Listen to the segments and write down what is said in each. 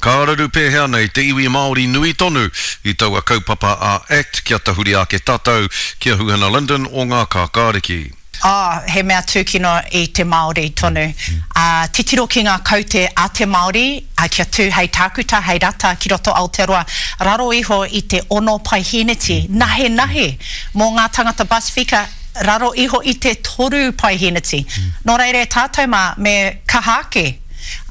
Ka raru pēhea nei te iwi Māori nui tonu i taua kaupapa a act kia tahuri ake tātou ki a Huhana Lyndon o Ngā Kākāriki. Oh, he mea tūkino i te Māori tonu. Ā, titiro ki ngā kaute a te Māori, ā, kia tū hei tākuta, hei rata ki roto Aotearoa, raro iho i te ono paihēneti, nahenahe mō ngā tangata Pasifika, raro iho i te toru paihēneti. Nō reira e tātou mā, me kaha ake.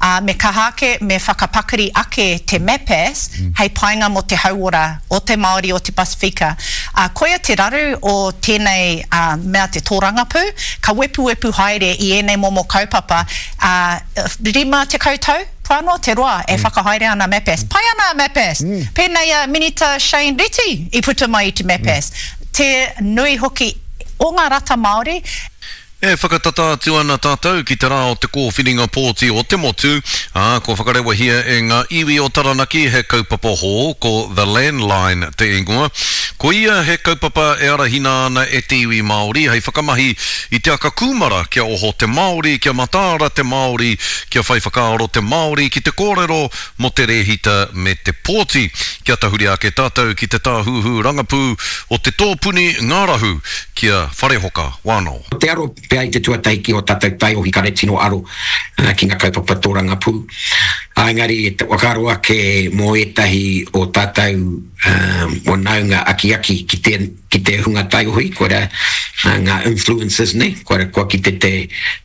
Ā, me kaha ake, me whakapakari ake te MAPAS hei painga mō te hauora o te Māori o te Pasifika. Ā, koia te raru o tēnei mea te tōrangapū, ka wepuwepu haere i ēnei momo kaupapa, ā, 50 tau kua noa te roa e whakahaere ana MAPAS. Pai ana a MAPAS! Pēnei a Minita Shane Reti i puta mai i te MAPAS. Te nui hoki o ngā rata Māori. E whakatata atu ana tātou ki te rā o te kōwhiringa pōti o te motu, ā, kua whakarewahia e ngā iwi o Taranaki he kaupapa hou, ko The Landline te ingoa. Ko ia he kaupapa e arahina ana e te iwi Māori hei whakamahi i te aka kūmara kia oho te Māori, kia mataara te Māori, kia whai whakaaro te Māori ki te kōrero mō te rēhita me te pōti. Kia tahuri ake tātou ki te tāhuhu rangapū o te tōpuni ngārahu ki a Wharehoka Wano. Ko te aro pea i te tuatahi ki o tatou taiohi kare tino aro ki nga kaupapa torangapū. Engari e whakaaro ake mo etahi o tatou whanaunga akiaki ki te ki te hunga taiohi, koira nga influencers nei, koira kua kite te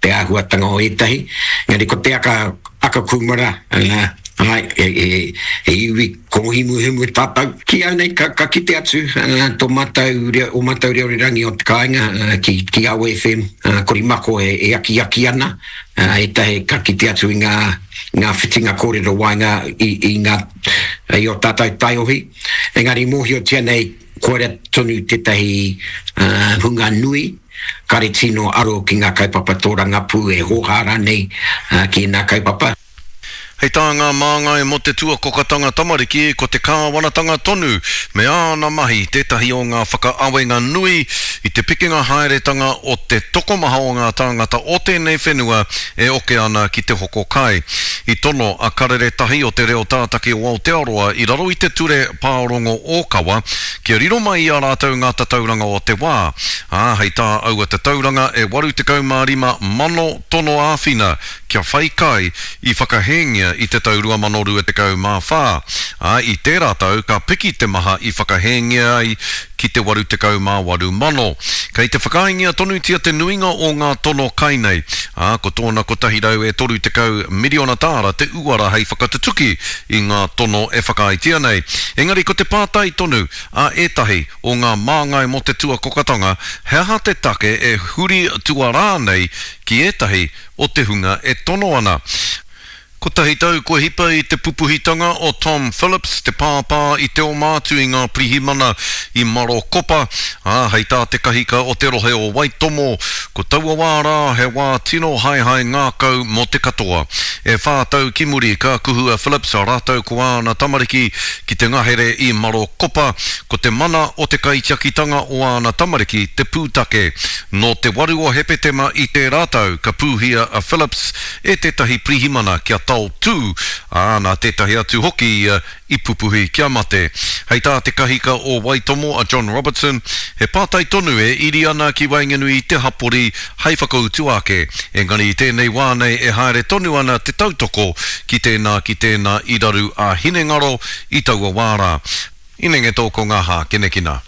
te ahuatanga o etahi. Engari ko te aka aka kumara, ae, he he iwi Kōhimuhimu tātou. Ki au nei, ka, ka kite atu tō mātou reo, ō mātou reo rerangi o te kāinga ki, ki Awa FM, Korimako e, e akiaki ana, ētahi ka kite atu i ngā, ngā whitinga kōrero waenga i, i ngā, i ō tātou taiohi. Engari mōhiotia nei, koira tonu tētahi hunga nui, kare tino aro ki ngā kaupapa tōrangapū e hōhā rānei ki ēnā kaupapa. Hei tā ngā māngai mō te tuakokatanga tamariki, ko te kāwanatanga tonu me āna mahi tētahi o ngā whakaawenga nui i te pikinga haeretanga o te tokomaha o ngā tāngata o tēnei whenua e oke ana ki te hoko kai. I tono a Karere Tahi o Te Reo Tātaki o Aotearoa i raro i te Ture Pārongo Ōkawa kia riro mai i a rātou ngā tatauranga o te wā, ā, hei tā aua tatauranga e 85 mano tono āwhina kia whai kai i whakahēngia i te tau 2024, ā, i tērā tau ka piki te maha i whakahēngia ai ki te 88 mano. Kei te whakaaengia tonutia te nuinga o ngā tono kai nei, ā, ko tōna 130 miriona tāra te uara hei whakatutuki i ngā tono e whakaaetia nei. Engari ko te pātai tonu a ētahi o ngā māngai mō te tuakokatanga, he aha te take e huri tuarā nei ki ētahi o te hunga e tono ana. Kotahi tau kua hipa i te pupuhitanga o Tom Phillips, te pāpā i te oma atu i ngā pirihimana i Marokopa, ā, hei tā te kahika o te rohe o Waitomo, ko taua wā rā he wā tino haehae ngākau mō te katoa. E whā tau ki muri ka kuhu a Phillips rātou ko āna tamariki ki te ngahere i Marokopa, ko te mana o te kaitiakitanga o āna tamariki te pūtake. Nō te 8 o Hepetema i tērā tau ka pūhia a Phillips e tētahi pirihimana kia taotū, ā, nā tētahi atu hoki ia i pupuhi kia mate. Hei tā te kahika o Waitomo a John Robertson, he pātai tonu e iri ana ki waenganui i te hapori hei whakautu ake, engari i tēnei wā nei e haere tonu ana te tautoko ki tēnā ki tēnā i raru ā-hinengaro i taua wā rā. Inenge tō ko ngā hākinakina.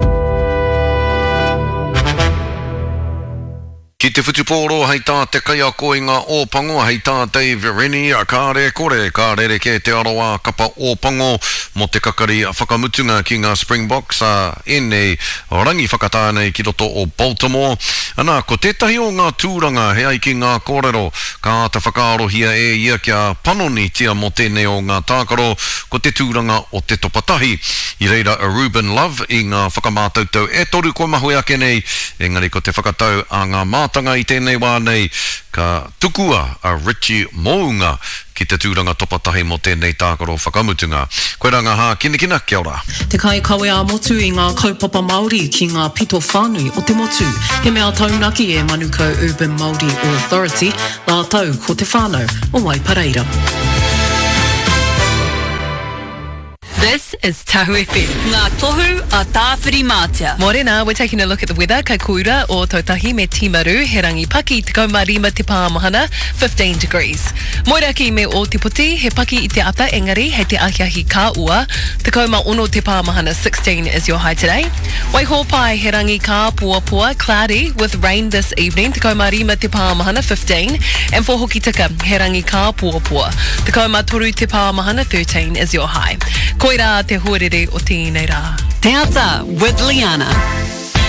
Ki te whutupōro hei tā te kaiako i ngā Ōpango hei tā Dave Rennie, kāre e kore ka rerekē te aroā kapa Ōpango mō te kakari whakamutunga ki ngā Springboks ā ēnei rangi whakatā nei ki roto o Baltimore. Ana, ko tētahi o ngā tūranga he ai ki ngā kōrero ka āta whakaarohia e ia kia panonitia mō tēnei o ngā tākaro ko te tūranga o te topa tahi. I reira a Ruben Love i ngā whakamātautau e toru kua mahue ake nei, engari ko te whakatau a ngā mātanga i tēnei wā nei, ka tukua a Richie Mounga ki te tūranga topa tahi mō tēnei tākaro whakamutunga. Koirā ngā hākinakina, kia ora. Te kaikawe ā-motu i ngā kaupapa Māori ki ngā pito whānui o te motu. He mea taunaki e Manukau Urban Māori Authority rātou ko te whānau o Waipareira. This is Tahu FM. Ngā tohu a Tāwhirimātea. Morena, we're taking a look at the weather. Kei Koura, Ōtautahi me Timaru, he rangi paki, 15 te pāmahana, 15 degrees. Moeraki me Ōtepoti, he paki i te ata engari hei te ahiahi ka ua, 16 te pāmahana, 16 is your high today. Waihōpai, he rangi kāpoapoa, cloudy, with rain this evening, 15 te pāmahana, 15, and for Hokitika, he rangi kāpoapoa, 13 te pāmahana, 13 is your high. Koirā te huarere o tēnei rā. Te Ata with Liana.